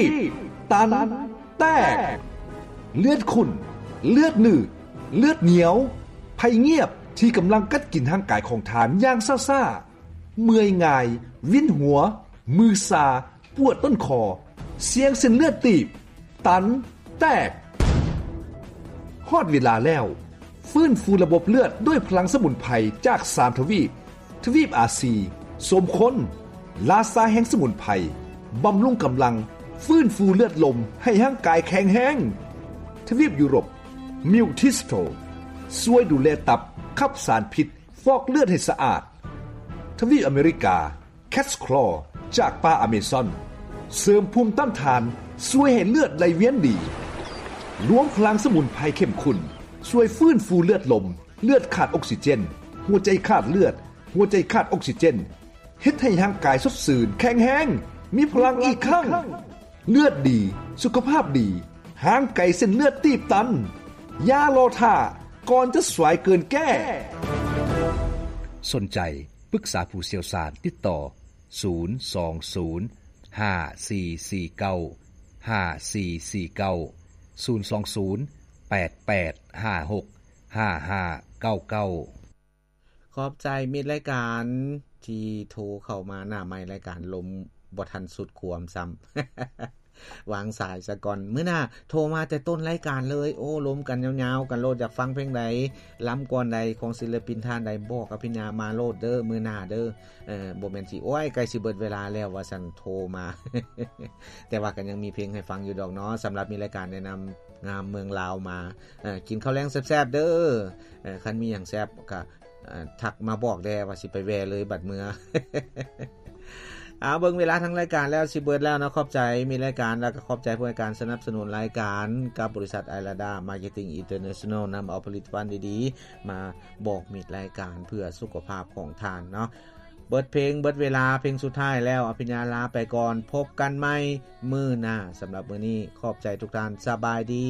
ບຕັນ ແຕກ ເລືອດຂຸ້ນ ເລືອດໜືດ ເລືອດໜຽວ ໄພງຽບທີ່ກຳລັງກັດກິນຮ່າງກາຍຂອງທ່ານຢ່າງຊ້າໆ, ເມື່ອຍງ່າຍ, ວິນຫົວ, ມືຊາ, ປວດຕົ້ນຄໍ, ສ່ຽງເສັ້ນເລືອດຕີບ, ຕັນ, ແຕກ. ຮອດເວລາແລ້ວ, ຟື້ນຟູລະບົບເລືອດດ້ວຍພະລັງສະໝຸນໄພຈາກສາມທະວີບ, ທະວີບອາຊີ, ສົມຄົນ, ລາຊາແຫ່ງສະໝຸນໄພ, ບຳລຸງກຳລັງ, ຟື້ນຟູເລືອດລົມໃຫ້ຮ່າງກາຍແຂງແຮງ. ທະວີບຢູໂຣບ, ມິວທິສໂຕ, ຊ່ວຍດູແລຕັບ, ຂັບສານພິດ, ຟອກເລືອດໃຫ້ສະອາດ. ທະວີບອາເມລິກາ, ແຄດສະຄລໍ ຈາກປ່າອາເມຊອນ, ເສີມພູມຕ້ານທານ, ຊ່ວຍໃຫ້ເລືອດໄຫຼວຽນດີ. ລວມພະລັງສະໝຸນໄພເຂັ້ມຂຸ້ນ, ຊ່ວຍຟື້ນຟູເລືອດລົມ, ເລືອດຂາດອົກຊີເຈນ, ຫົວໃຈຂາດເລືອດ, ຫົວໃຈຂາດອົກຊີເຈນ, ເຮັດໃຫ້ຮ່າງກາຍສົດຊື່ນ, ແຂງແຮງ, ມີພະລັງອີກຄັ້ງ. ເລືອດດີ, ສຸຂະພາບດີ, ຫ່າງໄກເສັ້ນເລືອດຕີບຕັນ. ຢ່າລໍຖ້າ, ກ່ອນຈະສວາຍເກີນແກ້. ສົນໃຈປຶກສາຜູ້ຊ່ຽວຊານ, ຕິດຕໍ່ ສູນສອງສູນ ຫ້າສີ່ສີ່ເກົ້າ ຫ້າສີ່ສີ່ເກົ້າ, ສູນສອງສູນ ແປດແປດຫ້າຫົກ ຫ້າຫ້າເກົ້າເກົ້າ. ຂອບໃຈມິດລາຍການທີ່ໂທເຂົ້າມາ. ໜ້າໄມລາຍການລົມບໍ່ທັນສຸດຄວາມຊ້ຳ, ວາງສາຍສາກ່ອນ. ມື້ໜ້າໂທມາແຕ່ຕົ້ນລາຍການເລີຍ. ໂອ້ ລົມກັນຍາວໆກັນໂລດ, ຢາກຟັງເພງໃດ, ລຳກ່ອນໃດ, ຂອງສິນລະປິນທ່ານໃດ, ບອກອະພິນຍາມາໂລດເດີ້ ມື້ໜ້າເດີ້. ເອີ ບໍ່ແມ່ນຊິ ໂອ້ຍ ໃກ້ຊິເບິດເວລາແລ້ວວ່າຊັ້ນ ໂທມາ. ແຕ່ວ່າກໍຍັງມີເພງໃຫ້ຟັງຢູ່ດອກເນາະ. ສຳລັບມີລາຍການແນະນຳງາມເມືອງລາວມາ, ເອີ ກິນເຂົ້າແລງແຊບໆເດີ້. ເອີ ຄັນມີຫຍັງແຊບກໍ ເອີ ທັກມາບອກແດ່ວ່າຊິໄປແວ່ເລີຍບັດເມືອ. ເອົາ ເບິ່ງເວລາທາງລາຍການແລ້ວ ຊິເບິດແລ້ວເນາະ. ຂອບໃຈມິດລາຍການ ແລ້ວກໍຂອບໃຈຜູ້ໃຫ້ການສະໜັບສະໜູນລາຍການ ກັບບໍລິສັດ ໄອລາດາ ມາເກັດຕິງ ອິນເຕີເນຊັນແນລ ນຳເອົາຜະລິດຕະພັນດີໆມາບອກມິດລາຍການເພື່ອສຸຂະພາບຂອງທ່ານເນາະ. ເບິດເພງ ເບິດເວລາ ເພງສຸດທ້າຍແລ້ວ ອະພິນຍາລາໄປກ່ອນ. ພົບກັນໃໝ່ມື້ໜ້າ. ສຳລັບມື້ນີ້ ຂອບໃຈທຸກທ່ານ. ສະບາຍດີ.